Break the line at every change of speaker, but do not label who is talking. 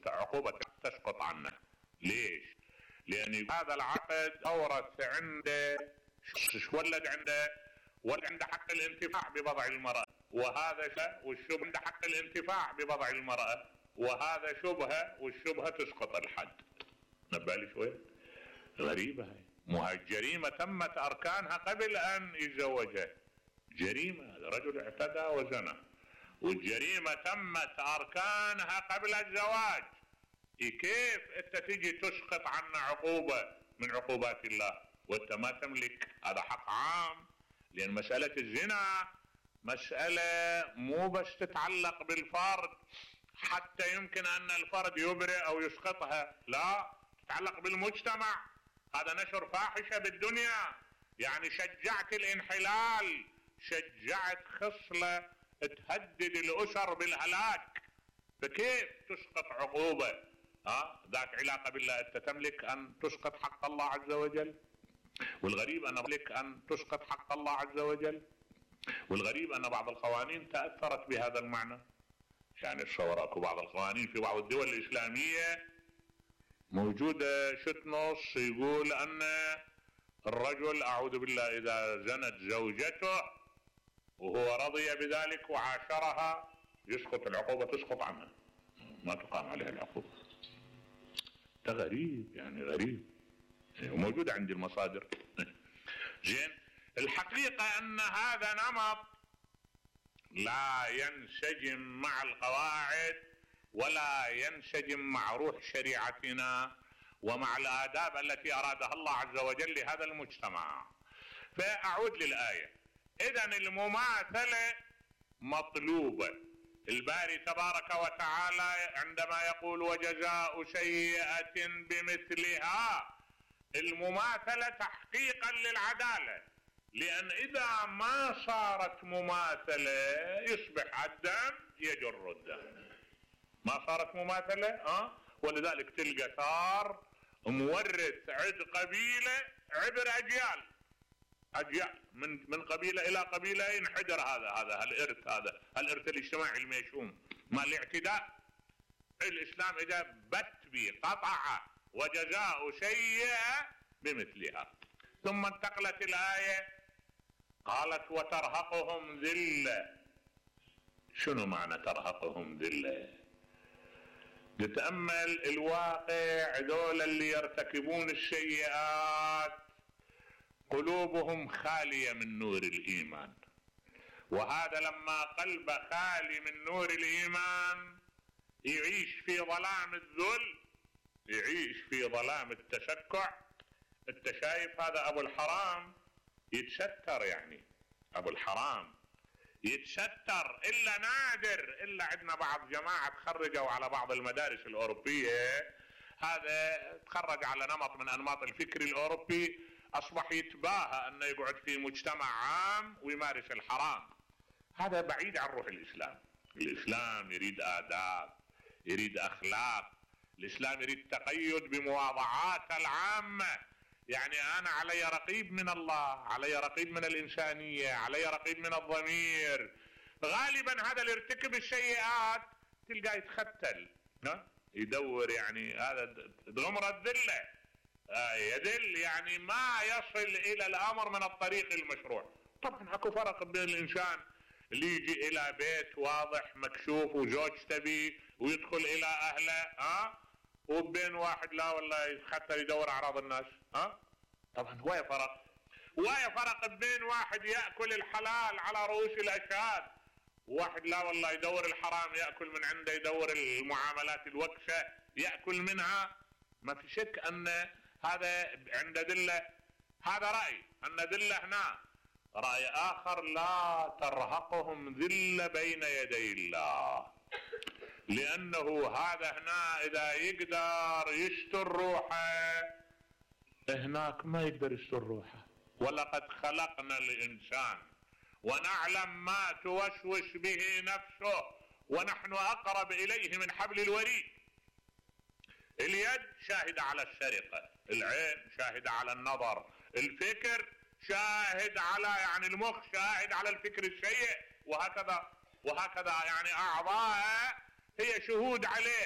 عقوبة تسقط عنه. ليش؟ لان هذا العقد اورث عنده، ولد عنده حق الانتفاع ببضع المرأة، وهذا والشبهة عنده حق الانتفاع ببضع المرأة، وهذا شبهة، والشبهة تسقط الحد. نبالي شوي غريبة هاي. مو هاي الجريمة تمت اركانها قبل ان يتزوجها. جريمة، هذا رجل اعتدى وزنى، والجريمة تمت اركانها قبل الزواج. كيف انت تجي تسقط عنا عقوبة من عقوبات الله وانت ما تملك؟ هذا حق عام. لان مسألة الزنا مسألة مو بس تتعلق بالفرد حتى يمكن ان الفرد يبرئ او يسقطها، لا، تتعلق بالمجتمع. هذا نشر فاحشة بالدنيا، يعني شجعت الانحلال، شجعت خصلة تهدد الاسر بالهلاك. فكيف تسقط عقوبة ذات علاقة بالله؟ انت تملك ان تسقط حق الله عز وجل؟ والغريب ان تملك ان تسقط حق الله عز وجل. والغريب ان بعض القوانين تأثرت بهذا المعنى. يعني تصور اكو بعض القوانين في بعض الدول الاسلامية موجودة نص يقول ان الرجل اعوذ بالله اذا زنت زوجته وهو رضي بذلك وعاشرها يسقط العقوبة، تسقط عنها، ما تقام عليها العقوبة. ده غريب، يعني غريب، وموجود عندي المصادر. زين، الحقيقة ان هذا نمط لا ينسجم مع القواعد ولا ينسجم مع روح شريعتنا ومع الآداب التي أرادها الله عز وجل لهذا المجتمع. فأعود للآية. إذن المماثلة مطلوبة. الباري تبارك وتعالى عندما يقول وجزاء سيئة بمثلها، المماثلة تحقيقا للعدالة، لأن إذا ما صارت مماثلة يصبح الدم يجر الدم. ما صارت مماثلة ولذلك تلقى ثار مورث عد قبيلة عبر أجيال من قبيلة إلى قبيلة ينحدر هذا الإرث الاجتماعي الميشوم مع الاعتداء. الإسلام إذا بت بي قطع وجزاء سيئة بمثلها. ثم انتقلت الآية قالت وترهقهم ذلة. شنو معنى ترهقهم ذلة؟ نتأمل الواقع. ذول اللي يرتكبون السيئات قلوبهم خالية من نور الإيمان، وهذا لما قلبه خالي من نور الإيمان يعيش في ظلام الذل، يعيش في ظلام التشكع. انت شايف هذا ابو الحرام يتستر، يعني ابو الحرام يتستر الا نادر، الا عندنا بعض جماعة تخرجوا على بعض المدارس الاوروبية، هذا تخرج على نمط من انماط الفكر الاوروبي، اصبح يتباهى انه يقعد في مجتمع عام ويمارس الحرام. هذا بعيد عن روح الاسلام. الاسلام يريد آداب، يريد اخلاق، الاسلام يريد تقيد بمواضعات العامة. يعني انا علي رقيب من الله، علي رقيب من الانسانية، علي رقيب من الضمير. غالبا هذا اللي يرتكب السيئات تلقاه يتختل، يدور، يعني هذا غمر الذلة، يدل، يعني ما يصل الى الامر من الطريق المشروع. طبعا اكو فرق بين الانسان اللي يجي الى بيت واضح مكشوف وزوجته بيه ويدخل الى اهله وبين واحد لا والله حتى يدور اعراض الناس. طبعا ويا فرق بين واحد يأكل الحلال على رؤوس الاشهاد وواحد لا والله يدور الحرام، يأكل من عنده، يدور المعاملات الوكشة يأكل منها. ما في شك ان هذا عند دلة. هذا رأي ان دلة هنا. رأي اخر لا ترهقهم ذلة بين يدي الله، لانه هذا هنا اذا يقدر يستر روحه هناك ما يقدر يستر روحه. ولقد خلقنا الانسان ونعلم ما توسوس به نفسه ونحن اقرب اليه من حبل الوريد. اليد شاهد على السرقة، العين شاهد على النظر، الفكر شاهد على، يعني المخ شاهد على الفكر السيء، وهكذا يعني اعضاء هي شهود عليه.